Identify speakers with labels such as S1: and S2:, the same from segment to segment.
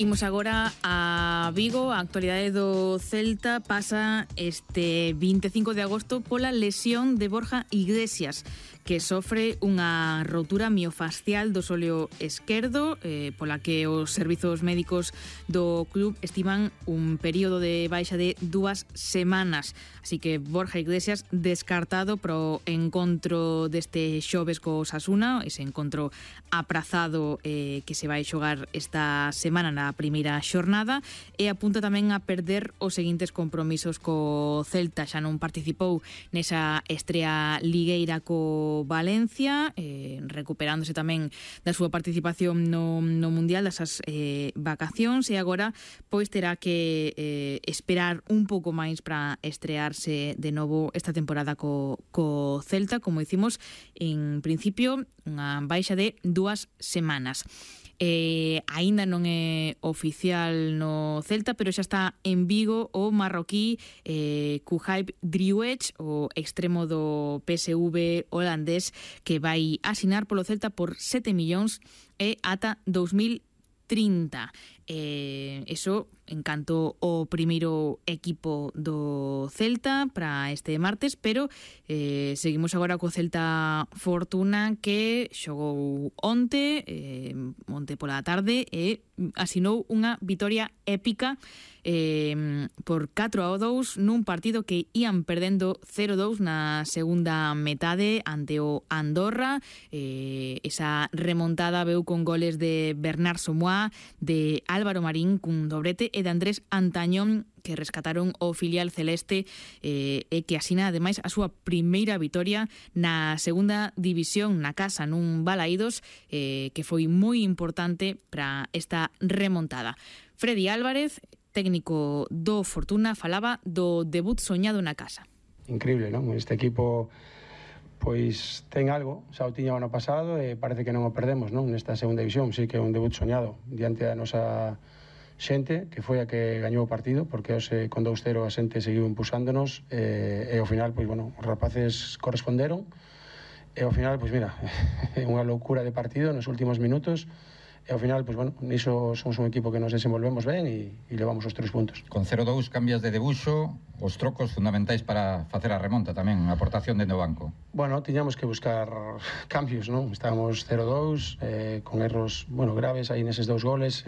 S1: Imos agora a Vigo. A actualidade do Celta pasa este 25 de agosto pola lesión de Borja Iglesias, que sofre unha rotura miofascial do sóleo esquerdo, pola que os servizos médicos do club estiman un período de baixa de 2 semanas. Así que Borja Iglesias descartado pro encontro deste xoves co Osasuna, ese encontro aprazado que se vai xogar esta semana na primeira xornada, e apunta tamén a perder os seguintes compromisos co Celta. Xa non participou nesa estrea ligueira co Valencia, recuperándose tamén da súa participación no Mundial, das vacacións, e agora pois terá que esperar un pouco máis para estrearse de novo esta temporada co Celta, como dicimos, en principio unha baixa de 2 semanas. Aínda non é oficial no Celta, pero xa está en Vigo o marroquí Khuaib Driouech, o extremo do PSV holandés, que vai asinar polo Celta por 7 millóns e ata 2030. Eso en canto ao primeiro equipo do Celta para este martes, pero seguimos agora co Celta Fortuna, que xogou onte pola tarde e asinou unha vitoria épica por 4-2 nun partido que ían perdendo 0-2 na segunda metade ante o Andorra. Esa remontada veu con goles de Bernard Somoa, de Álvaro Marín cun dobrete e de Andrés Antañón, que rescataron o filial celeste, e que asina ademais a súa primeira vitoria na segunda división na casa, nun Balaídos, que foi moi importante para esta remontada. Freddy Álvarez, técnico do Fortuna, falaba do debut soñado na casa.
S2: Increíble, non? Este equipo pois ten algo, xa o tiña o ano pasado e parece que non o perdemos, non? Nesta segunda división, sí que é un debut soñado diante da nosa xente, que foi a que gañou o partido, porque hoxe con 2-0 a xente seguiu impulsándonos, e ao final, pois, bueno, os rapaces corresponderon, e ao final, pois mira, é unha loucura de partido nos últimos minutos, e ao final, pois, bueno, niso somos un equipo que nos desenvolvemos ben e levamos os 3 puntos.
S3: Con 0-2 cambias de debuxo, os trocos fundamentais para facer a remonta tamén, a aportación dentro do banco.
S2: Bueno, tiñamos que buscar cambios, non? Estábamos 0-2, con erros, bueno, graves aí neses 2 goles,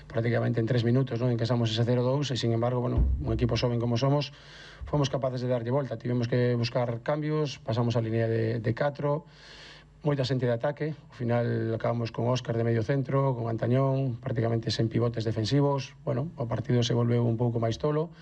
S2: prácticamente en 3 minutos, non? Encasamos ese 0-2 e, sin embargo, bueno, un equipo xoven como somos, fomos capaces de darlle volta. Tivemos que buscar cambios, pasamos a línea de 4, moita xente de ataque. Ao final acabamos con Óscar de medio centro, con Antañón, prácticamente sen pivotes defensivos. Bueno, o partido se volveu un pouco máis tolo,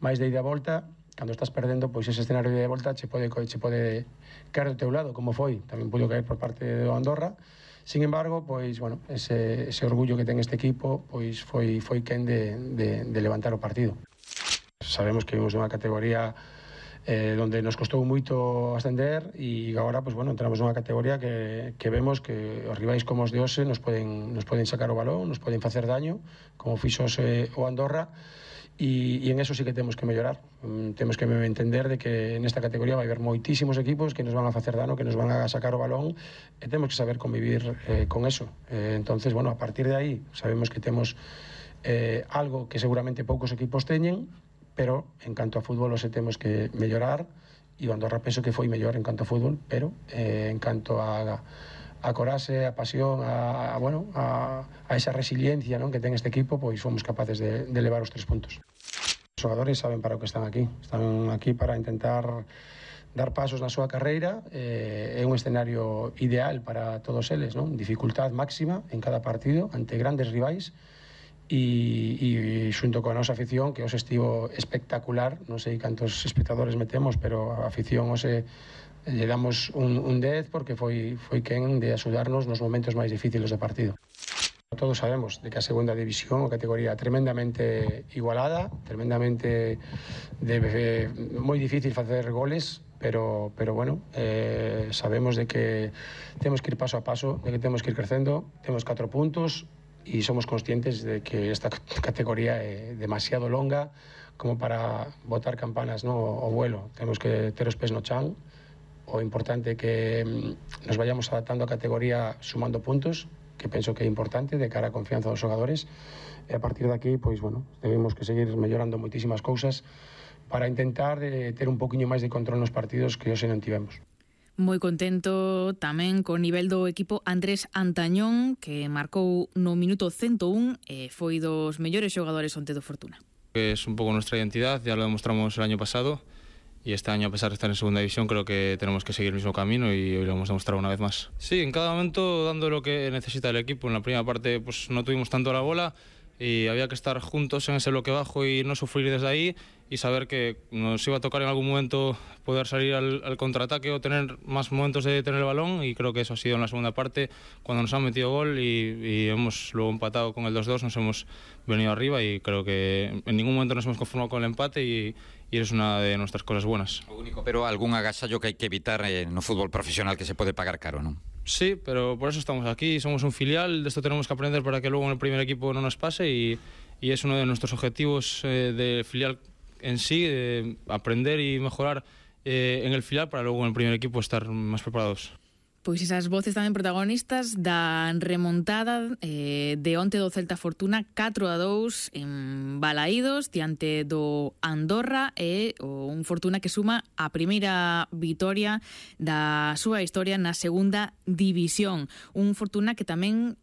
S2: máis de ida a volta. Cando estás perdendo, pois ese escenario de volta che pode caer do teu lado, como foi. Tamén pudo caer por parte do Andorra. Sin embargo, pois, bueno, ese orgullo que ten este equipo, pois foi quen de levantar o partido. Sabemos que vimos unha categoría donde nos costou moito ascender, e agora, pois, bueno, entramos nunha categoría que vemos que os rivais como os de hoxe nos poden sacar o balón, nos poden facer daño, como fixo o Andorra, e en eso sí que temos que mellorar. Temos que entender de que nesta categoría vai haber moitísimos equipos que nos van a facer dano, que nos van a sacar o balón, e temos que saber convivir con eso. Entonces, bueno, a partir de aí sabemos que temos algo que seguramente poucos equipos teñen, pero en canto a fútbol hoxe temos que mellorar, e o Andorra penso que foi mellor en canto a fútbol, pero en canto a coraxe, a pasión, a esa resiliencia, non, que ten este equipo, pois fomos capaces de levar os 3 puntos. Os xogadores saben para o que están aquí para intentar dar pasos na súa carreira. É un escenario ideal para todos eles, non? Dificultad máxima en cada partido ante grandes rivais, e xunto coa nosa afición, que hoxe estivo espectacular. Non sei cantos espectadores metemos, pero a afición hoxe lle damos un 10, porque foi quen de axudarnos nos momentos máis difíciles do partido. Todos sabemos de que a segunda división, a categoría tremendamente igualada, tremendamente moi difícil facer goles, pero bueno, sabemos de que temos que ir paso a paso, de que temos que ir crecendo. Temos 4 puntos e somos conscientes de que esta categoría é demasiado longa como para botar campanas, no, ao vuelo. Temos que ter os pés no chan. O importante é que nos vayamos adaptando a categoría sumando puntos, penso que é importante de cara á confianza dos xogadores, e a partir de aquí, pois, bueno, debemos que seguir mellorando moitísimas cousas para intentar ter un poquinho máis de control nos partidos que hoxe non tivemos.
S1: Moi contento tamén co nivel do equipo Andrés Antañón, que marcou no minuto 101 e foi dos mellores xogadores onte do Fortuna.
S4: Es un poco nuestra identidad, ya lo demostramos el año pasado y este año, a pesar de estar en segunda división, creo que tenemos que seguir el mismo camino y hoy lo hemos demostrado una vez más. Sí, en cada momento dando lo que necesita el equipo. En la primera parte pues no tuvimos tanto la bola y había que estar juntos en ese bloque bajo y no sufrir desde ahí y saber que nos iba a tocar en algún momento poder salir al contraataque o tener más momentos de tener el balón, y creo que eso ha sido en la segunda parte cuando nos han metido gol y hemos luego empatado con el 2-2, nos hemos venido arriba y creo que en ningún momento nos hemos conformado con el empate y es una de nuestras cosas buenas.
S3: O único, pero algún agasallo que hai que evitar no fútbol profesional que se pode pagar caro, non?
S4: Sí, pero por eso estamos aquí, somos un filial, de esto tenemos que aprender para que luego en el primer equipo no nos pase y es uno de nuestros objetivos de filial en sí, de aprender y mejorar en el filial para luego en el primer equipo estar más preparados.
S1: Pois esas voces tamén protagonistas da remontada de onte do Celta Fortuna 4-2 en Balaídos diante do Andorra, e un Fortuna que suma a primeira vitoria da súa historia na segunda división. Un Fortuna que tamén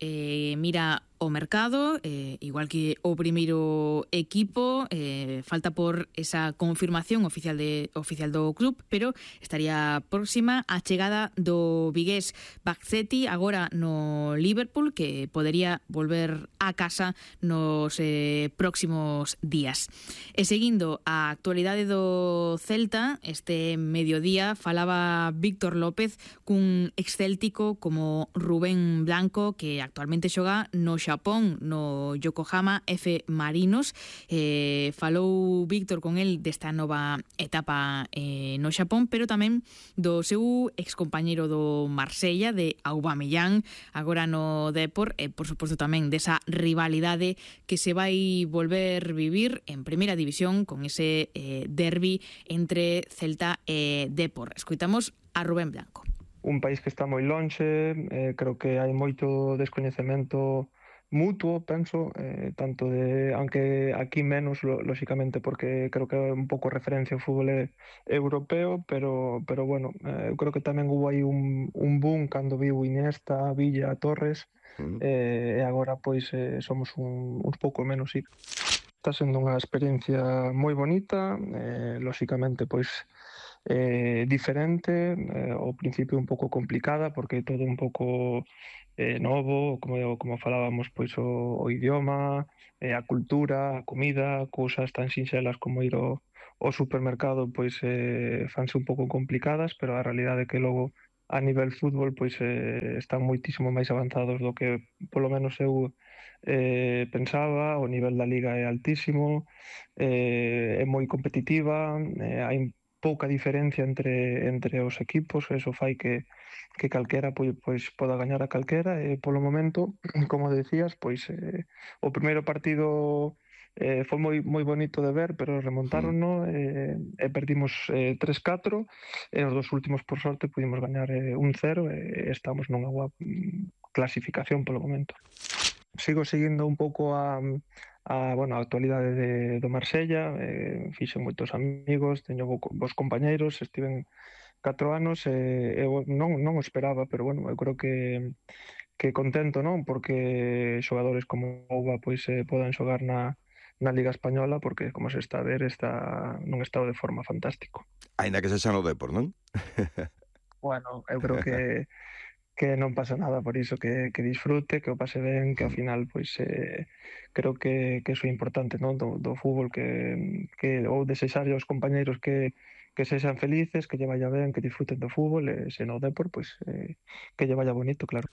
S1: mira o mercado, igual que o primeiro equipo, falta por esa confirmación oficial do club, pero estaría próxima a chegada do vigués Bakcetti, agora no Liverpool, que podería volver a casa nos próximos días. E seguindo a actualidade do Celta, este mediodía falaba Víctor López cun excéltico como Rubén Blanco, que actualmente xoga no Xapón, no Yokohama F. Marinos. Falou Víctor con el desta nova etapa no Xapón, pero tamén do seu excompañeiro do Marsella, de Aubameyang, agora no Depor, e por suposto tamén desa rivalidade que se vai volver vivir en primeira división con ese derbi entre Celta e Depor. Escoitamos a Rubén Blanco.
S5: Un país que está moi lonxe, creo que hai moito descoñecemento mutuo, penso, tanto de, aunque aquí menos, lóxicamente, porque creo que é un pouco referencia ao fútbol europeo, pero bueno, eu creo que tamén hubo aí un boom cando viu Iniesta, Villa, Torres, e agora pois somos uns pouco menos, sí. Está sendo unha experiencia moi bonita, lóxicamente pois diferente, ao principio un pouco complicada porque todo un pouco novo, como falábamos, pois o idioma, a cultura, a comida, cousas tan sinxelas como ir ao supermercado, pois fanse un pouco complicadas, pero a realidade é que logo a nivel fútbol pois están moitísimo máis avanzados do que polo menos eu pensaba. O nivel da liga é altísimo, é moi competitiva, hai pouca diferencia entre os equipos, eso fai que calquera pois poda gañar a calquera, e polo momento, como decías, pois o primeiro partido foi moi bonito de ver, pero remontárono e perdimos 3-4, e os dos últimos, por sorte, pudimos gañar 1-0 e estamos nunha boa clasificación polo momento. Sigo seguindo un pouco a actualidade do Marsella, fixen moitos amigos, teño bons compañeiros, estiven 4 anos, eu non o esperaba, pero bueno, eu creo que contento, non? Porque xogadores como Ouba pois podan xogar na Liga Española, porque como se está a ver, está nun estado de forma fantástico.
S6: Aínda que se xa no Depor, non?
S5: Bueno, eu creo que non pasa nada por iso, que disfrute, que o pase ben, que ao final pois creo que iso é importante, non, do fútbol, que ou desexarlle aos compañeiros que sexan felices, que lle vaya ben, que disfruten do fútbol, e se no Depor, pois que lle vaya bonito, claro.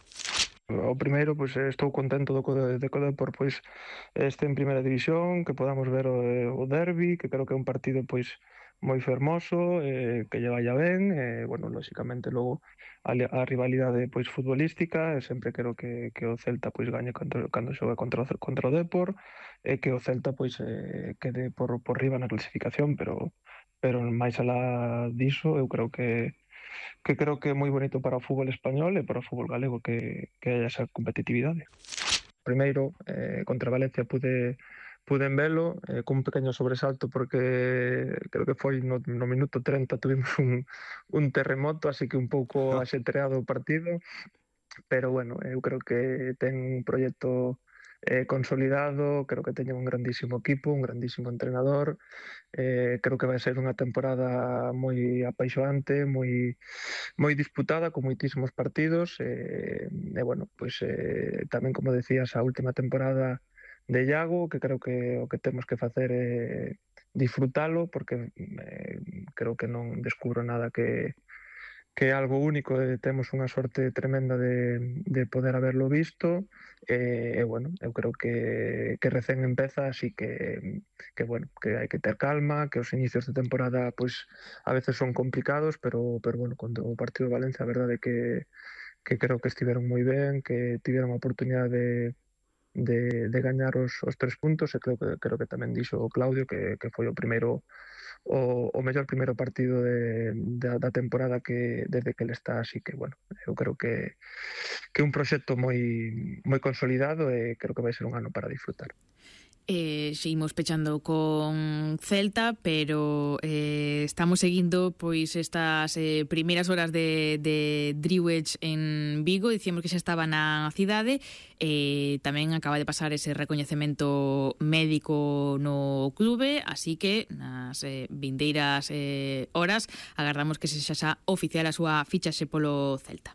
S5: O primeiro, pois estou contento de que o Depor pois este en primeira división, que podamos ver o derbi, que creo que é un partido pois moi fermoso, que lle vaya ben, bueno, lóxicamente logo a rivalidade pois futbolística, sempre quero que o Celta pois gañe cando xoga contra o Depor, e que o Celta pois quede por riba na clasificación, pero máis alá diso, eu creo que creo que é moi bonito para o fútbol español e para o fútbol galego que haya esa competitividade. Primeiro, contra Valencia puden velo cun pequeño sobresalto porque creo que foi no minuto 30 tuvimos un terremoto, así que un pouco axetreado o partido, pero bueno, eu creo que ten un proxecto consolidado, creo que teñen un grandísimo equipo, un grandísimo entrenador, creo que vai ser unha temporada moi apaixoante, moi disputada, con moitísimos partidos, e bueno, pois tamén, como decías, a última temporada de Iago, que creo que o que temos que facer é disfrutalo, porque creo que non descubro nada que é algo único, temos unha sorte tremenda de poder haberlo visto, e bueno, eu creo que recén empeza, así que bueno, que hai que ter calma, que os inicios de temporada pois a veces son complicados, pero bueno, cando o partido de Valencia, a verdade é que creo que estiveron moi ben, que tiveron a oportunidade de gañar os 3 puntos, e creo que tamén dixo o Claudio que foi o mellor primeiro partido da temporada que desde que ele está, así que bueno, eu creo que é un proxecto moi consolidado e creo que vai ser un ano para disfrutar.
S1: Seguimos pechando con Celta, pero estamos seguindo pois estas primeiras horas de Dríhuez en Vigo. Dicíamos que xa estaba na cidade, tamén acaba de pasar ese recoñecemento médico no clube, así que nas vindeiras horas agardamos que se xa oficial a súa fichaxe polo Celta.